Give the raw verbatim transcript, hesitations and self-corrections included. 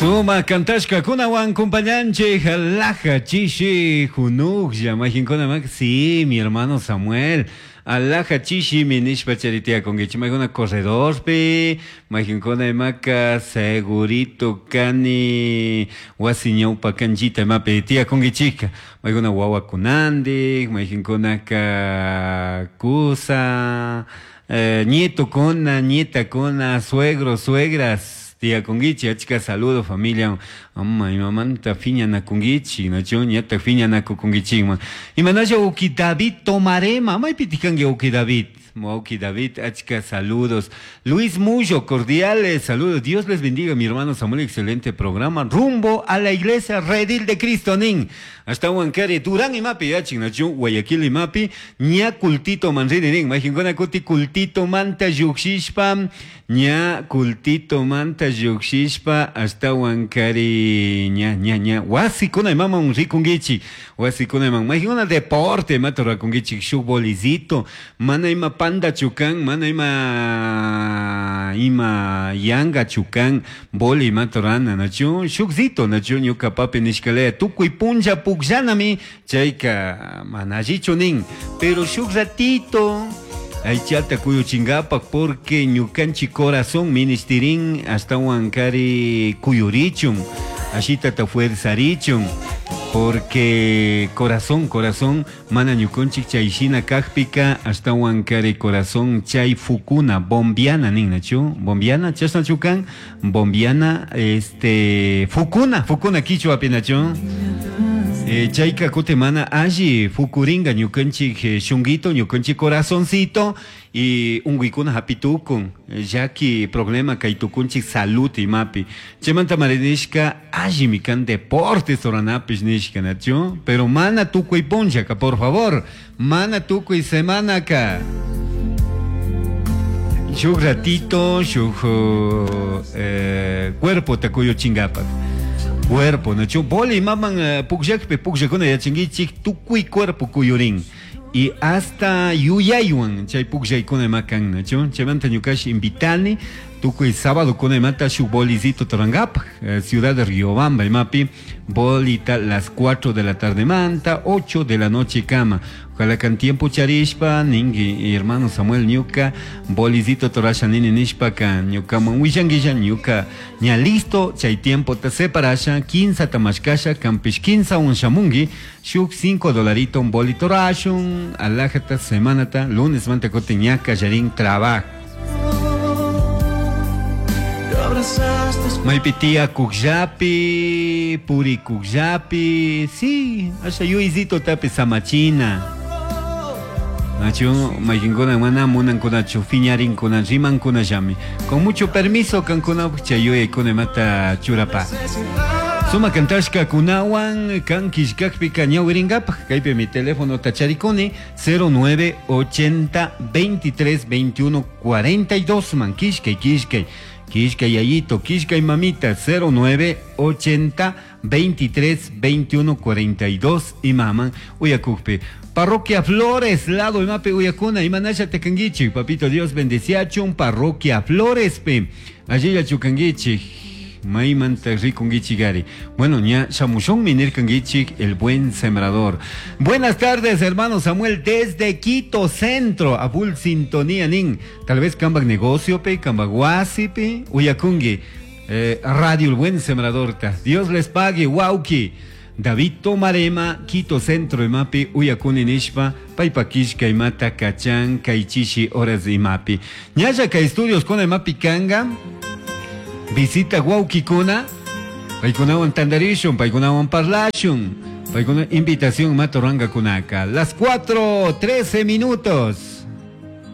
Suma kantashkakunawan kumpañanchik laja chishi hunuklla mayqinkuna mak sí mi hermano Samuel alaja chishimi nishpa charitiakunkichik maykuna corredorpi mayqinkuna imaka segurito kani wasi ñawpa kanchita imapi tiyakunkichikka maykuna wawakunandik mayqinkunaka kusa eh, nietukuna nietakuna suegros suegras tiyakunkichik achka saludo familia ama imamanta phiñanakunkichik nachu ñataq phiñanakukunkichikman imanasha uki David Tomarema maypitik kanki uki David Uki David, achka saludos. Luis Mullo, cordiales saludos. Dios les bendiga, mi hermano Samuel, excelente programa. Rumbo a la iglesia Redil de Cristo, nin. Hasta Huancare, Durán imapi, yachin, nachu, Guayaquil imapi, ña cultito manrini, nin. Majinkuna kuti cultito manta llukshishpa, ña cultito manta llukshishpa, hasta Huancare, ña, ña, ña. Wasikuna imaman rikunkichik, wasikuna iman. Majinkuna deporte, imata rurakunkichik, shuk bolizito, mana ima panda chukan, mana ima ima yanga chukan, boli imata rurana, nachu, shukzito, nachu, ñuka papi nishkalaya, tukuy punlla pukllanami, chayka mana allichu nin, pero shuk ratito, aychata kuyuchinkapak porque ñukanchik corazón ministirin ashtawan kari kuyurichun, ashitata fuerzarichun, porque corazón, corazón, mana ñukunchik chayshina kajpika ashtawan kari corazón chay fukuna, bombiana nin, nachu, bombiana, chashnachu kan, bombiana, este, fukuna, fukuna kichwapi, nachu. Eh, chayka kuti mana alli fukuringa ñukanchik eh, shunguito, ñukanchik corazoncito y unguykuna hapitukun, llaki problema kay tukunchik salud imapi. Chaymanta marinishka allimi kan deportes ruranapish nishka, nachu, pero mana tukuy punllaka, por favor, mana tukuy semanaka. Shuk ratito, shuk eh, cuerpo takuyuchinkapak. Cuerpo, nachu, boli maman uh, pukllakpi pukllakuna yachankichik tukuy cuerpo kuyurin. Y hasta yuyaywan chay pukllaykuna ima kan, nachu, chaymanta ñukash invitani tukuy sábado kuna imata shuk bolizito turankapak, eh, ciudad de Riobamba imapi, bolita las cuatro de la tarde manta, ocho de la noche kama. Ojalá kan tiempo charishpa, ningi hermano Samuel ñuka, bolizito torasha nini nishpa ka ñukaman willanguilla ñuka ña listo, chay tiempo ta separasha, quince tamashkasha, kampish quince un shamungi, shuk cinco dolarito un bolito rashun, alajata semanata, lunes manta kote ñaka yarin trabajo. Maypi kukllapi, puri kukllapi, sí, asha yuyzito tapi samachina. Nachu, mayqinkuna mana munankunachu, phiñarinkuna, rimankuna llami. Con mucho permiso kankuna chay yuyaykuna imata churapa. Suma kantashka kunawan kan killkakpika ñawirinkapaj, kaypi mi teléfono tacharikuni cero nueve ochenta veintitrés veintiuno cuarenta y dos man, killkay, killkay. Killkay yayito, killkay mamita, cero nueve ochenta veintitrés veintiuno cuarenta y dos y maman uyakukpi. Parroquia Flores, lado imapi uyakuna, imanasha tekanguichi, papito Dios bendeciachun, Parroquia Flores pe. Allí ya chukanguichi, maymanta rikunguichi gari. Bueno, ña shamushun minirkanguichi, el buen sembrador. Buenas tardes, hermano Samuel, desde Quito Centro, a full sintonía nin. Tal vez kambak negocio pe, kambak wasi pe, uyakungi. Eh, Radio El Buen Sembrador ta. Dios les pague, wauki. David Tomarema, Quito Centro imapi, uyakuni nishpa, paypakishka imata kachan, kaychishi horas imapi. Ñalla kay estudios con imapi kanga, visita wawkikuna, paykunawan tandarishun, paykunawan parlashun, paykuna invitación matoranga kunaka. Las cuatro, trece minutos.